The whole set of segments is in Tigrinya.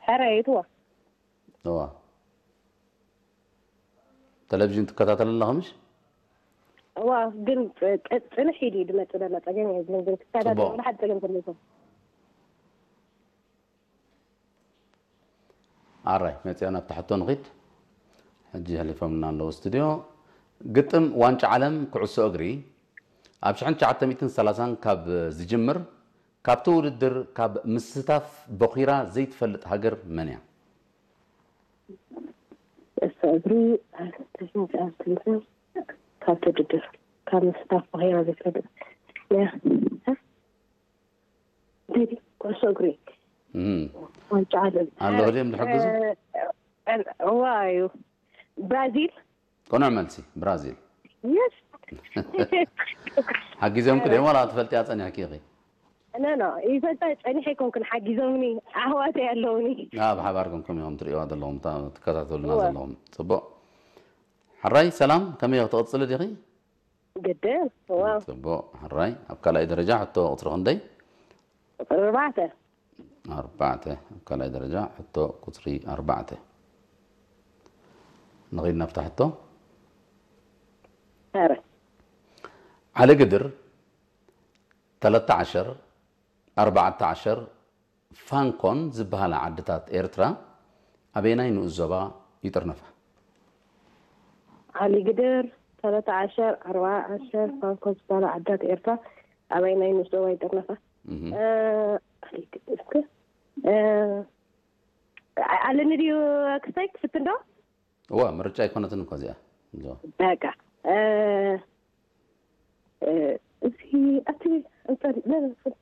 ሕራይ እትዋ እዋ፣ ቴሌቪዥን ትከታተል ኣለኻ ምሽ? እዋ ግን ጽ- ጽ- ጽንሕ ኢሉ እዩ ዝመጽእ ዘሎ። ጸገም የብሉን፣ ግን ክከታተል ጽቡቕ። ወላ ሓደ ጸገም ክህልዎ። ኣራይ መጽያ ናብ ታሕቶ ንኺድ። ሕጂ ሕሊፎምና ኣለዉ ስቱድዮ። ግጥም ዋንጫ ዓለም ኩዕሶ እግሪ ኣብ ሽሕን ትሽዓተ ሚእትን ሰላሳን ካብ ዝጅምር፣ ካብቲ ውድድር ካብ ምስታፍ በኺራ ዘይትፈልጥ ሃገር መን እያ? እሳ እግሪ ኣስተሽንጫ ካብቲ ውድድር ካብ ምስታፍ በኺራ ዘይትፈልጥ እያ። እንዴት ኩዕሶ እግሪ እም፣ ዋንጫ ዓለም ኣለኹ ድዮም ዝሕግዙ? እ፣ እ፣ እዋ እዩ። ብራዚል። ቅኑዕ መልሲ፣ ብራዚል። የስ ሓጊዞምኪ ድዮም ዋላ ትፈልጥያ ጸኒሕኪ ኢኺ? ኖ ኖ፣ ይፈልጣ ጸኒሐ ኣይኮንኩን፣ ሓጊዞምኒ፣ ኣሕዋተይ ኣለውኒ። ኣብ ሓባር ኮንኩም ኢኹም ትርእይዋ ዘለኹም፣ እታ ትከታተሉና እወ። ዘለኹም። ጽቡቕ። ሕራይ ሰላም፣ ከመይ ኢኺ? ትቕጽሊ ዲኺ? ግድን እዋ። ጽቡቕ። ሕራይ ኣብ ካልኣይ ደረጃ ሕቶ ቁጽሪ ክንደይ? ቁጽሪ ኣርባዕተ። ኣርባዕተ። ኣብ ካልኣይ ደረጃ ሕቶ ቁጽሪ ኣርባዕተ። ንኺድ ናብታ ሕቶ። ኧረ ዓሊ ግድር፣ ተለተ ዓሸር፣ ኣርባዕተ ዓሸር፣ ፋንኮን ዝበሃላ ዓድታት ኤርትራ ኣበየናይ ንኡስ ዞባ ይጥርነፋ? ዓሊ ግድር፣ ተለተ ዓሸር፣ ኣርባዓ ዓሸር፣ ፋንኮን ዝበሃላ ዓድታት ኤርትራ ኣበየናይ ንኡስ ዞባ ይጥርነፋ? እህ። እ፣ ዓሊ ግድር እስከ፣ እ፣ ኣለኒ ድዩ ክስታይ ክፍትን ዶ? እዋ፣ ምርጫ ኣይኮነትን እኮ እዚኣ። እዞ። በቃ። እ፣ እ፣ እዚ ኣቲ፣ ኣንጻር፣ ለ-፣ ለ-፣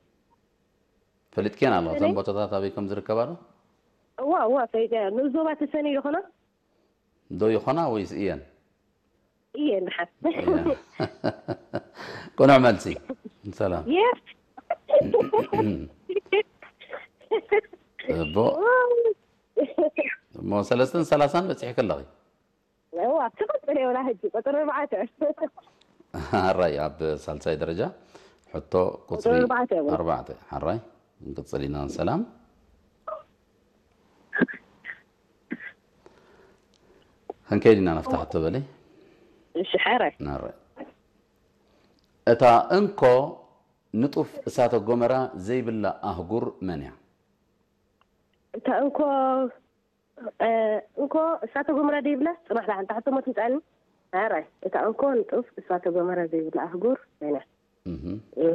ፈሊጥክየን ኣለኹ እተን ሰለይ? ቦታታት ኣበይ ከም ዝርከባ ዶ? እዋ፣ እዋ፣ ፈሊጠ። ንኡስ ዞባ ተሰኒ ይኾና? ዶ ይኾና ወይስ እየን? እየን፣ ደሓን። እየን። ቅኑዕ መልሲ። ሰላም። የስ። እቦ። እሞ ሰለስተን ሰላሳን በጺሕኪ ኣለኺ። እዋ፣ ትቕጽል እየ ወላ ሕጂ፣ ቁጽሪ ኣርባዕተ። ሕራይ ኣብ ሳልሳይ ደረጃ ሕቶ ቁጽሪ ቁጽሪ ኣርባዕተ እውን። ኣርባዕተ። ሕራይ ክንቅጽል ኢና። ሰላም። ክንከይድ ኢና ናብታ ሕቶ በሊ። እሺ፣ ሕራይ። ናረ። እታ እንኮ ንጡፍ እሳተ ጎመራ ዘይብላ ኣህጉር መን እያ? እታ እንኮ፣ እ፣ እንኮ እሳተ ጎመራ ዘይብላ፣ ጽናሕ ደሓን፣ እታ ሕቶ ሞ ትምጻኒ። ሕራይ፣ እታ እንኮ ንጡፍ እሳተ ጎመራ ዘይብላ ኣህጉር መን እያ? እህ። እ፣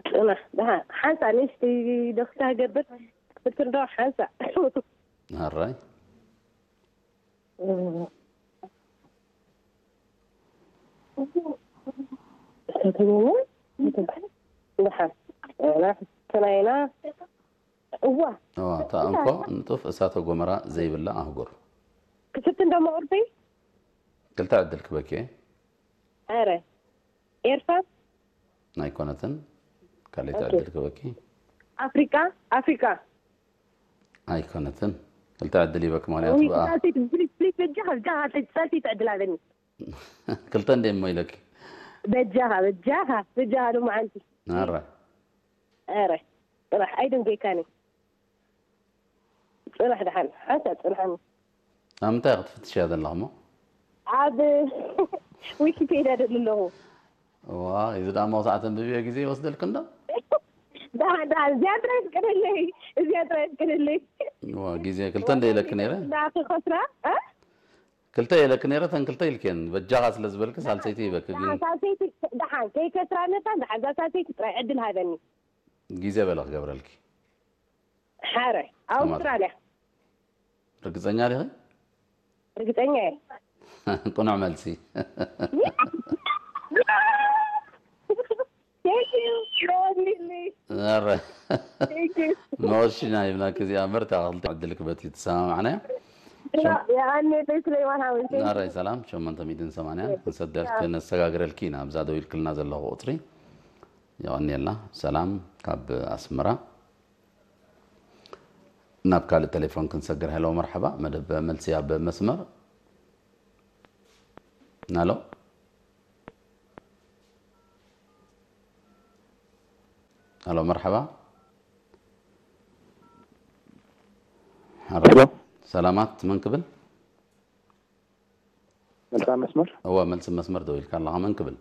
ጽናሕ ደሓን፣ ሓንሳ ንእሽተይ ዶክታ ገብር፣ ክትፍትን ዶ ሓንሳ? ሕራይ። ደሓን። ተናይና። እዋ። እዋ፣ እታ እንኮ ንጡፍ እሳተ ጎመራ ዘይብላ ኣህጉር። ክፍትን ደሞ ቁርሲ? ክልተ ዕድል ክበኪ። ኣረ። ኤርትራ? ኣይኮነትን። ካልኣይቲ ኦኬ። ዕድል ክበኪ። ኣፍሪቃ? ኣፍሪቃ። ኣይኮነትን። ክልተ ዕድል ይበክ፣ ምኽንያቱ ወይ ብኣ ሳልሰይቲ፣ ፕሊዝ፣ ፕሊዝ፣ በጃኻ፣ በጃኻ፣ ሳልሰይቲ ዕድል ሃበኒ። ክልተ እንደ እሞ ኢለኪ። በጃኻ፣ በጃኻ፣ በጃኻ፣ ሎማዓንቲ። ኣረ። ኣረ። ጽናሕ፣ ኣይደንገይካኒ። ጽናሕ ደሓን፣ ሓንሳእ ጽንሓኒ። ኣብ ምንታይ ክትፍትሽያ ዘለኽሞ? ኣብ ዊኪፔድያ ደሊ ኣለኹ። ዋ፣ እዚ ደኣ መውሳዕቲ ኣንብብዮ ግዜ ይወስደልክ እንዶ? ደሓን፣ ደሓን፣ እዚኣ ጥራይ ፍቀደለይ፣ እዚኣ ጥራይ ፍቀደለይ። ዋ፣ ግዜ ክልተ እንደ ኢለክ ነይረ። ዳ ክኸስራ፣ እ? ክልተ ኢለክ ነይረ፣ ተን ክልተ ኢልክየን። በጃኻ ስለ ዝበልክ ሳልሰይቲ ይበክ፣ ግን ደሓን፣ ሳልሰይቲ፣ ደሓን፣ ከይከስራ ነታ፣ ደሓን፣ እዛ ሳልሰይቲ ጥራይ ዕድል ሃበኒ። ግዜ በለ ክገብረልኪ። ሓረ፣ ኣውስትራልያ። ርግጸኛ ዲኺ? ርግጸኛ እየ። ቅኑዕ መልሲ። Thank you. ዮኒ። ኣረ። Thank you. መወሽና ይብላክ እዚኣ ምርታ ክልተ ዕድል ክበት እዩ ተሰማማዕና። የኣኔ ቤት ለይዋን ሃወንቴ። ኣረ ሰላም፣ ሸሞንተ ሚእትን ሰማንያ ክንሰደልክ ነሰጋግረልኪ ኢና። ኣብዛ ደው ኢልክልና ዘለኹ ቁጽሪ የቐንየልና። ሰላም ካብ ኣስመራ። ናብ ካልእ ቴሌፎን ክንሰግር። ሄሎ፣ መርሓባ። መደብ መልሲ ኣብ መስመር። ናሎ። ሄሎ፣ መርሓባ። ሄሎ። ሰላማት፣ መን ክብል? መልሳ መስመር። እወ፣ መልሲ መስመር ደው ኢልካ ኣለኻ። መን ክብል?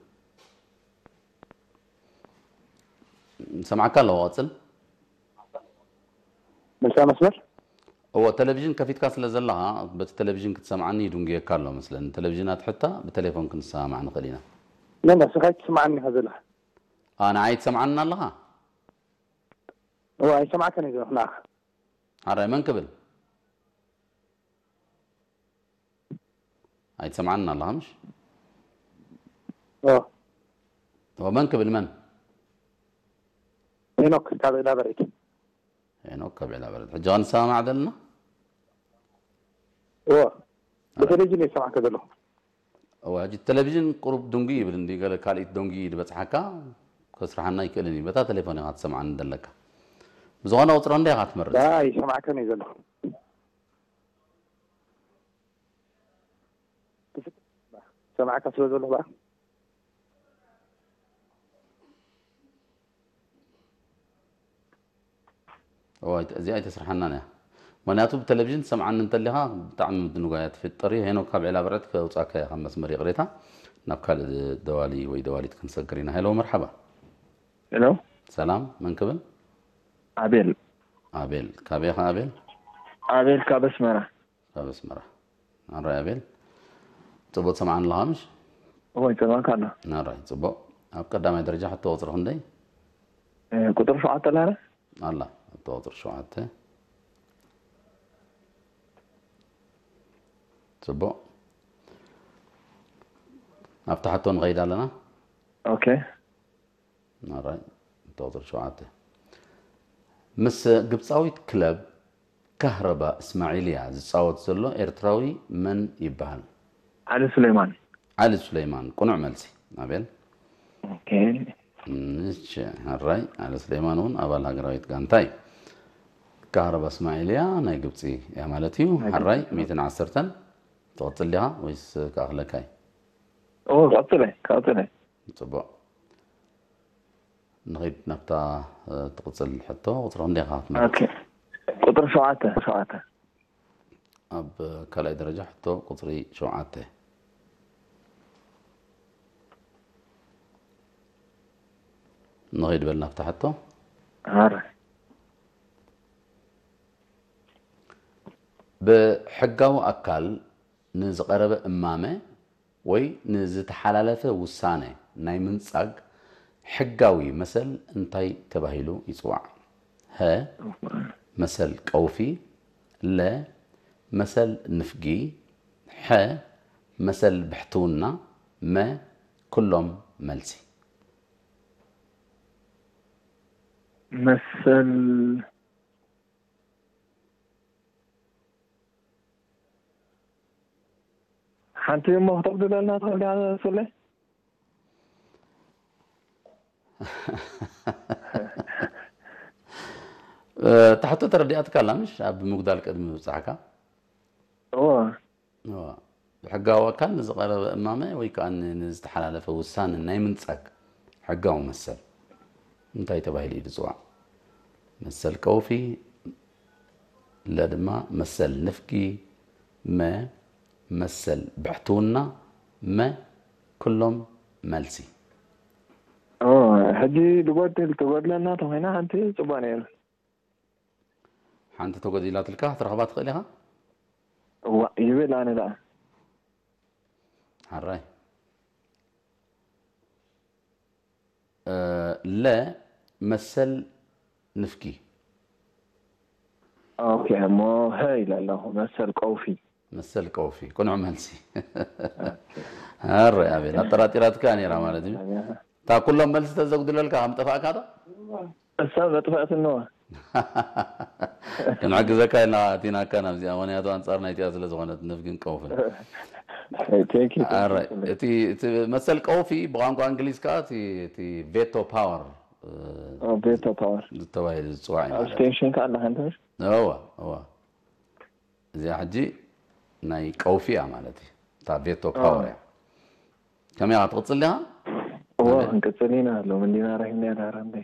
ሰማዕካ ኣለኹ፣ ቀጽል። መልሳ መስመር። እወ፣ ቴሌቪዥን ከፊትካ ስለ ዘለኻ፣ በቲ ቴሌቪዥን ክትሰምዓኒ ይድንጉየካ ኣሎ መስለኒ። ቴሌቪዥን ኣትሕታ፣ ብቴሌፎን ክንሰማማዕ ንኽእል ኢና። ነ ንስኻ ኣይትስምዓኒ ኢኻ ዘለኻ። ኣ፣ ንዓይ ትሰምዓኒ ኣለኻ? እወ፣ ኣይሰማዕካን እየ ዘለኹ ንዓኻ። ሓራይ፣ መን ክብል? ኣይትሰምዓኒ ኣለኻ ምሽ? እወ። እወ፣ መን ክብል መን? ሄኖክ ካብ ዒላ በርዒድ። ሄኖክ ካብ ዒላ በርዒድ። ሕጂ ኸ ንሰማማዕ ዘለና? እወ። ብቴሌቪዥን እየ ዝሰማዕካ ዘለኹ። እወ፣ ሕጂ ቴሌቪዥን ቁሩብ ድንጉይ ይብል እንዲ፣ ገለ ካልኢት ደንጉ እዩ ዝበጽሓካ፣ ከስርሓና ኣይክእልን እዩ። በታ ቴሌፎን ኢኻ ትሰምዓኒ ዘለካ። ብዝኾነ ቁጽሪ ክንደይ ኢኻ ትመርጽ? ዳ ኣይሰማዕካን እየ ዘለኹ። ሰማዕካ ስለ ዘለኹ በኣ። እወ፣ ኣይተ-፣ እዚኣ ኣይተስርሓናን እያ። ምኽንያቱ ብቴሌቪዥን ትሰምዓኒ እንተሊኻ ብጣዕሚ ምድንጓይ እያ ትፍጠር እዩ። ሄኖክ ካብ ዒላ በርዒድ ከውጻካ እየ ካብ መስመር፣ ይቕሬታ። ናብ ካልእ ደዋሊ ወይ ደዋሊት ክንሰግር ኢና። ሄሎ፣ መርሓባ። ሄሎ፣ ሰላም፣ መን ክብል? ኣቤል። ኣቤል፣ ካበይ ኢኻ ኣቤል? ኣቤል ካብ ኣስመራ። ካብ ኣስመራ። ኣራይ ኣቤል፣ ጽቡቕ ትሰምዓኒ ኣለኻ ምሽ? እወ፣ ይሰማዕካ ኣሎ። ኣራይ፣ ጽቡቕ። ኣብ ቀዳማይ ደረጃ ሕቶ ቁጽሪ ክንደይ? እ፣ ቁጽሪ ሸውዓተ ኣላ። ኣላ፣ ሕቶ ቁጽሪ ሸውዓተ። ጽቡቕ። ኣብታ ሕቶ ንኸይድ ኣለና። ኦኬ። ኣራይ፣ ሕቶ ቁጽሪ ሸውዓተ። ምስ ግብጻዊት ክለብ ካህረባ እስማዒልያ ዝጻወት ዘሎ ኤርትራዊ መን ይበሃል? ዓሊ ሱሌማን። ዓሊ ሱሌማን፣ ቅኑዕ መልሲ። ኣቤል። ኦኬ። እሺ፣ ሕራይ፣ ዓሊ ሱሌማን እውን ኣባል ሃገራዊት ጋንታ እዩ። ካህረባ እስማዒልያ ናይ ግብጺ እያ ማለት እዩ። ናይ ሕራይ፣ ግብጺ። ሚእትን ዓሰርተን ትቕጽል ዲኻ ወይስ ክኣኽለካ እዩ? ኦ፣ ቀጽለ፣ ቀጽለ። ጽቡቕ። ንኺድ ናብታ፣ እ፣ ትቕጽል ሕቶ። ቁጽሪ ክንደይ ኢኻ ክትመርጽ? ኦኬ። ቁጽሪ ሸውዓተ፣ ሸውዓተ። ኣብ ካልኣይ ደረጃ ሕቶ ቁጽሪ ሸውዓተ። ንኺድ በል ናብታ ሕቶ። ኣረ። ብሕጋዊ ኣካል ንዝቐረበ እማመ ወይ ንዝተሓላለፈ ውሳነ ናይ ምንጻግ ሕጋዊ መሰል እንታይ ተባሂሉ ይጽዋዕ? ሀ፣ መሰል ቀውፊ፣ ለ፣ መሰል ንፍጊ፣ ሐ፣ መሰል ብሕትውና፣ መ፣ ኩሎም መልሲ። መሰል ሓንቲ እሞ ክተቕድለልና ትኽእል ዲኻ ሱሌ? እ፣ እታ ሕቶ ተረዲኣትካ ኣላ ምሽ? ኣብ ምጉዳል ቅድሚ ምብጻሕካ። እዎ። እዋ። ብሕጋዊ ኣካል ንዝቐረበ እማመ ወይ ከኣ ን-፣ ንዝተሓላለፈ ውሳነ ናይ ምንጻግ ሕጋዊ መሰል እንታይ ተባሂሉ እዩ ዝጽዋዕ? መሰል ቀውፊ፣ ለ ድማ መሰል ንፍጊ፣ መ መሰል ብሕትውና፣ መ ኩሎም መልሲ። ኦ፣ ሕጂ ድጎድል ትጎድለና ተኾይና ሓንቲ ጽቡቕ ነይሩ። ሓንቲ ተጎዲላትልካ ክትረኽባ ትኽእል ኢኻ? እዋ፣ ይብል ኣነ ደኣ። ሓራይ። እ፣ ለ መሰል ንፍጊ። ኦኬ፣ እሞ ሀ ኢለ ኣለኹ፣ መሰል ቀውፊ። መሰል ቀውፊ፣ ቅኑዕ መልሲ። ኣረ ኣቤል፣ ኣጠራጢራትካ ነይራ ማለት እዩ። እታ ኩሎም መልሲ ተዘጉድለልካ ከም ጠፋእካ ዶ? እሳ መጥፋእትንዋ። ክንሕግዘካ ኢልና ኣቲናካ ናብዚኣ፣ ምኽንያቱ ኣንጻር ናይቲኣ ስለ ዝኾነት ንፍግን ቀውፍን። Thank you, thank you. ኣረ፣ እቲ፣ እቲ መሰል ቀውፊ ብቋንቋ እንግሊዝ ከኣ እቲ፣ እቲ ቬቶ ፓወር፣ እ፣ ኦ፣ ቬቶ ፓወር። ዝተባሂሉ ዝጽዋዕ እዩ ማለት እዩ። ኣብስቴንሽን ከኣ ኣለካ እንተ። እዋ፣ እዋ። እዚኣ ሕጂ ናይ ቀውፊ እያ ማለት እዩ። እታ ቬቶ ፓወር እያ። ከመይ ኢኻ ትቕጽል ዲኻ? እዎ፣ ኣቤል? ክንቅጽል ኢና። ሎሚ እንዲና ረኺብና ዳራ እንዴ።